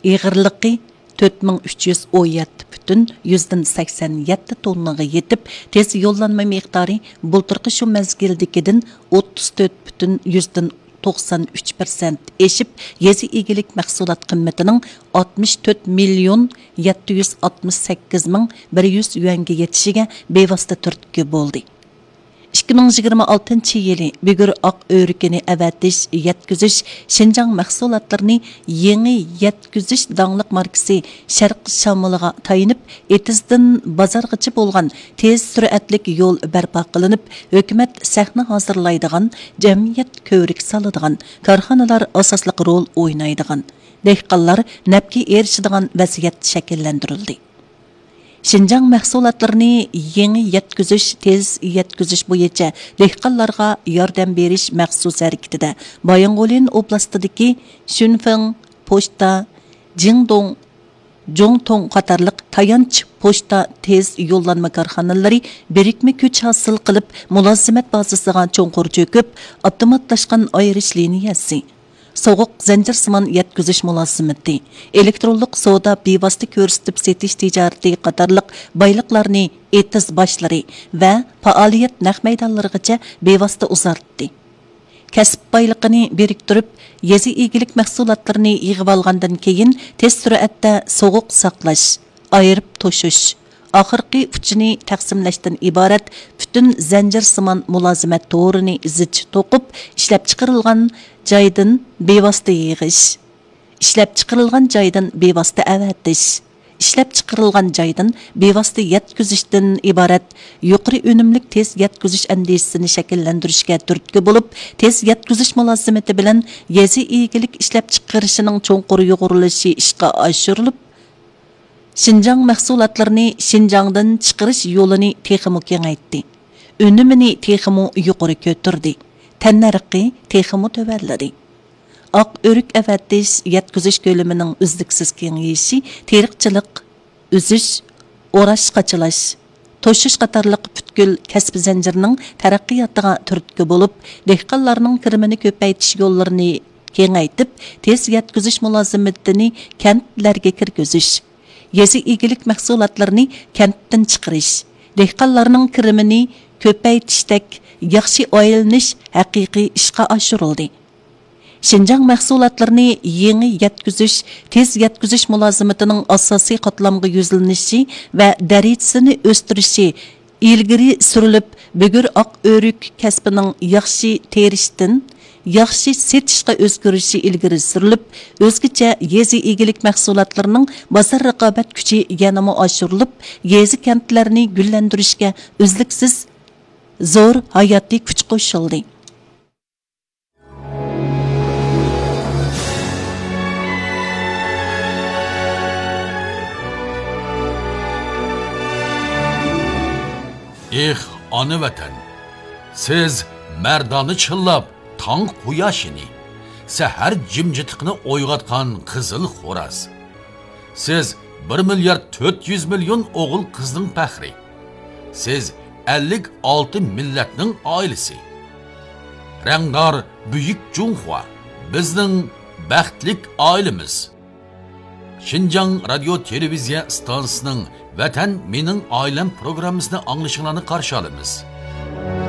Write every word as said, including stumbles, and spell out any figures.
ئېغىرلىقى تۆت مىڭ ئۈچ يۈز ئون يەتتە پۈتۈن يۈزدىن سەكسەن يەتتە توننىغا يېتىپ، تېز يوللانما مىقدارى بۇلتۇرقى شۇ مەزگىلدىكىدىن ئوتتۇز تۆت پۈتۈن يۈزدىن توقسان ئۈچ پىرسەنت ئېشىپ، يېزا ئىگىلىك مەھسۇلات قىممىتىنىڭ ئاتمىش تۆت مىليون يەتتە يۈز ئاتمىش سەككىز مىڭ بىر يۈز يۈەنگە يېتىشىگە بىۋاسىتە تۈرتكە بولدى. ئىككى مىڭ يىگىرمە ئالتىنچى يىلى بۈگۈر ئاق ئۆرۈكىنى ئەۋەتىش، يەتكۈزۈش، شىنجاڭ مەھسۇلاتلىرىنى يېڭى يەتكۈزۈش داڭلىق ماركىسى شەرق شامىلىغا تايىنىپ، ئېتىزدىن بازارغىچە بولغان تېز سۈرئەتلىك يول بەرپا قىلىنىپ، ھۆكۈمەت سەھنە ھازىرلايدىغان، جەمئىيەت كۆۋرۈك سالىدىغان، كارخانىلار ئاساسلىق رول ئوينايدىغان، دېھقانلار نەپكە ئېرىشىدىغان ۋەزىيەت شەكىللەندۈرۈلدى. شىنجاڭ مەھسۇلاتلىرىنى يېڭى يەتكۈزۈش، تېز يەتكۈزۈش بويىچە دېھقانلارغا ياردەم بېرىش مەخسۇس ھەرىكىتىدە بايىنغولىن ئوبلاستىدىكى شۈنفېڭ پوچتا، جىڭدوڭ، جۇڭتۇڭ قاتارلىق تايانچ پوچتا تېز يوللانما كارخانىلىرى بىرىكمە كۈچ ھاسىل قىلىپ، مۇلازىمەت بازىسىغا چوڭقۇر چۆكۈپ، ئاپتوماتلاشقان ئايرىش لىنىيەسى، سوغۇق زەنجىرسىمان يەتكۈزۈش مۇلازىمىتى، ئېلېكترونلۇق سودا، بىۋاسىتە كۆرسىتىپ سېتىش تىجارىتى قاتارلىق بايلىقلارنى ئېتىز باشلىرى ۋە پائالىيەت نەق مەيدانلىرىغىچە بىۋاسىتە ئۇزارتتى. كەسىپ بايلىقىنى بىرىكتۈرۈپ، يېزا ئىگىلىك مەھسۇلاتلىرىنى يىغىۋالغاندىن كېيىن، تېز سۈرئەتتە سوغۇق ساقلاش، ئايرىپ توشۇش، ئاخىرقى ئۇچىنى تەقسىملەشتىن ئىبارەت پۈتۈن زەنجىرسىمان مۇلازىمەت تورىنى زىچ توقۇپ، ئىشلەپچىقىرىلغان جايدىن بىۋاسىتە يىغىش، ئىشلەپچىقىرىلغان جايدىن بىۋاسىتە ئەۋەتىش، ئىشلەپچىقىرىلغان جايدىن بىۋاسىتە يەتكۈزۈشتىن ئىبارەت يۇقىرى ئۈنۈملۈك تېز يەتكۈزۈش ئەندىزىسىنى شەكىللەندۈرۈشكە تۈرتكە بولۇپ، تېز يەتكۈزۈش مۇلازىمىتى بىلەن يېزا ئىگىلىك ئىشلەپچىقىرىشىنىڭ چوڭقۇر يۇغۇرۇلۇشى ئىشقا ئاشۇرۇلۇپ، شىنجاڭ مەھسۇلاتلىرىنى شىنجاڭدىن چىقىرىش يولىنى تېخىمۇ كېڭەيتتى، ئۈنۈمىنى تېخىمۇ يۇقىرى كۆتۈردى، تەننەرخى تېخىمۇ تۆۋەنلىدى. ئاق ئۆرۈك ئەۋەتىش، يەتكۈزۈش كۆلىمىنىڭ ئۈزلۈكسىز كېڭىيىشى تېرىقچىلىق، ئۈزۈش، ئوراش، قاچىلاش، توشۇش قاتارلىق پۈتكۈل كەسىپ زەنجىرىنىڭ تەرەققىياتىغا تۈرتكە بولۇپ، دېھقانلارنىڭ كىرىمىنى كۆپەيتىش يوللىرىنى كېڭەيتىپ، تېز يەتكۈزۈش مۇلازىمىتىنى كەنتلەرگە كىرگۈزۈش، يېزا ئىگىلىك مەھسۇلاتلىرىنى كەنتتىن چىقىرىش، دېھقانلارنىڭ كىرىمىنى كۆپەيتىشتەك ياخشى ئايلىنىش ھەقىقىي ئىشقا ئاشۇرۇلدى. شىنجاڭ مەھسۇلاتلىرىنى يېڭى يەتكۈزۈش، تېز يەتكۈزۈش مۇلازىمىتىنىڭ ئاساسىي قاتلامغا يۈزلىنىشى ۋە دەرىجىسىنى ئۆستۈرۈشى ئىلگىرى سۈرۈلۈپ، بۈگۈر ئاق ئۆرۈك كەسپىنىڭ ياخشى تېرىشتىن ياخشى سېتىشقا ئۆزگىرىشى ئىلگىرى سۈرۈلۈپ، ئۆزگىچە يېزا ئىگىلىك مەھسۇلاتلىرىنىڭ بازار رىقابەت كۈچى يەنىمۇ ئاشۇرۇلۇپ، يېزا كەنتلەرنى گۈللەندۈرۈشكە ئۈزلۈكسىز زور ھاياتىي كۈچ قوشۇلدى. ئېھ، ئانا ۋەتەن! سىز مەردانە چىللاپ تاڭ قۇياشىنى، سەھەر جىمجىتلىقىنى ئويغاتقان قىزىل خوراز. سىز بىر مىليارد تۆت يۈز مىليون ئوغۇل قىزنىڭ پەخرى. سىز ئەللىك ئالتە مىللەتنىڭ ئائىلىسى. رەڭدار بۈيۈك جۇڭخۇا، بىزنىڭ بەختلىك ئائىلىمىز. شىنجاڭ رادىيو تېلېۋىزىيە ئىستانسىسىنىڭ ۋەتەن مېنىڭ ئائىلەم پروگراممىسىنى ئاڭلىشىڭلارنى قارشى ئالىمىز.